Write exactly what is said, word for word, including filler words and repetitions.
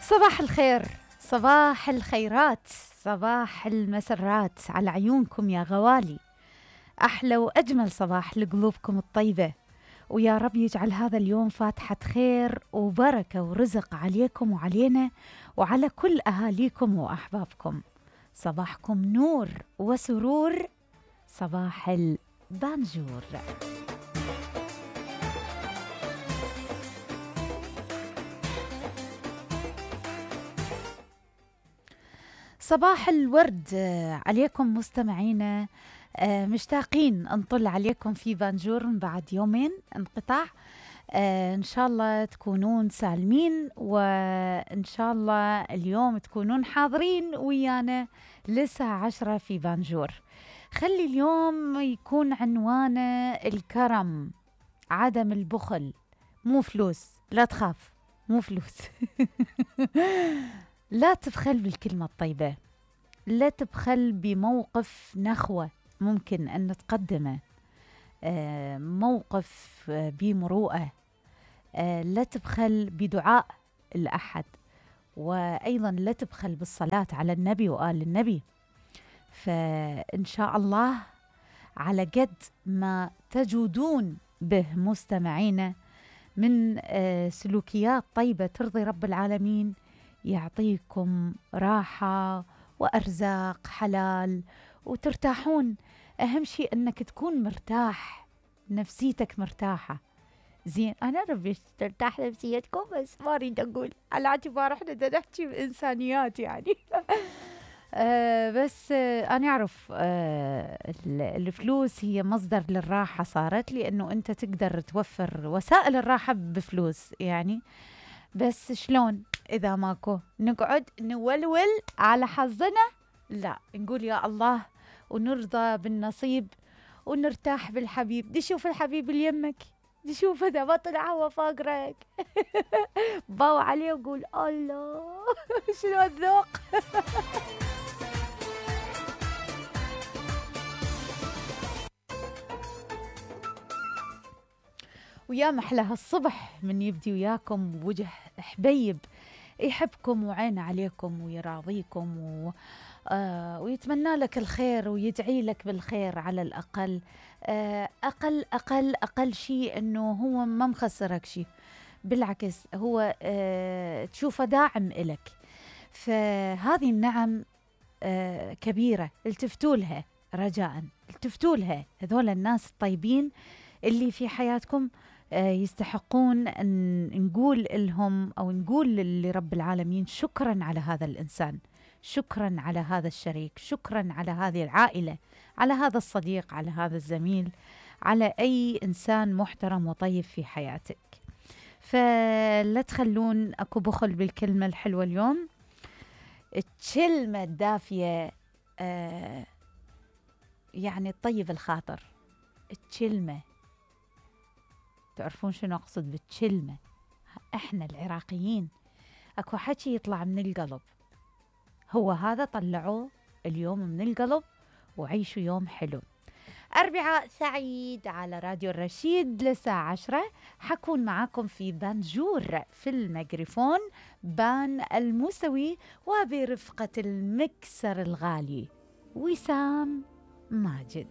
صباح الخير، صباح الخيرات، صباح المسرات على عيونكم يا غوالي. أحلى وأجمل صباح لقلوبكم الطيبة، ويا رب يجعل هذا اليوم فاتحة خير وبركة ورزق عليكم وعلينا وعلى كل أهاليكم وأحبابكم. صباحكم نور وسرور، صباح البانجور. صباح الورد عليكم مستمعينا، مشتاقين نطل عليكم في بانجور من بعد يومين انقطاع. إن شاء الله تكونون سالمين، وإن شاء الله اليوم تكونون حاضرين ويانا للساعة عشرة في بانجور. خلي اليوم يكون عنوانه الكرم، عدم البخل، مو فلوس، لا تخاف مو فلوس. لا تبخل بالكلمة الطيبة، لا تبخل بموقف نخوة ممكن أن نتقدمه، موقف بمروءة. لا تبخل بدعاء الأحد، وأيضا لا تبخل بالصلاة على النبي وآل النبي. فإن شاء الله على قد ما تجودون به مستمعين من سلوكيات طيبة ترضي رب العالمين، يعطيكم راحة وأرزاق حلال وترتاحون. أهم شيء أنك تكون مرتاح، نفسيتك مرتاحة. زين، أنا ربي ترتاح نفسيتكم، بس ما أريد أقول على اعتبار إحنا دا نحكي بإنسانيات يعني. آه بس آه أنا أعرف آه الفلوس هي مصدر للراحة صارت، لأنه أنت تقدر توفر وسائل الراحة بفلوس يعني. بس شلون إذا ماكو؟ نقعد نولول على حظنا؟ لا، نقول يا الله ونرضى بالنصيب ونرتاح بالحبيب. دي شوف الحبيب اللي يمك، دي شوف إذا ما طلع هو فاقرك. باو عليه وقول الله شنو الذوق. ويا محلى هالصبح من يبدي وياكم وجه حبيب يحبكم وعين عليكم ويراضيكم و... آه ويتمنى لك الخير ويدعي لك بالخير على الأقل. آه أقل أقل أقل شيء أنه هو ما مخسرك شيء، بالعكس هو آه تشوفه داعم إلك. فهذه النعم آه كبيرة، التفتوا لها رجاء، التفتوا لها. هذول الناس الطيبين اللي في حياتكم يستحقون أن نقول لهم أو نقول لرب العالمين شكرا على هذا الإنسان، شكرا على هذا الشريك، شكرا على هذه العائلة، على هذا الصديق، على هذا الزميل، على أي إنسان محترم وطيب في حياتك. فلا تخلون أكو بخل بالكلمة الحلوة اليوم. الكلمة الدافية آه يعني الطيب الخاطر. الكلمة، تعرفون شنو أقصد بالكلمة؟ إحنا العراقيين أكو حكي يطلع من القلب، هو هذا طلعوه اليوم من القلب وعيشوا يوم حلو. أربعاء سعيد على راديو الرشيد للساعة عشرة. حكون معاكم في بانجور، في الميكروفون بان الموسوي، وبرفقة المكسر الغالي وسام ماجد.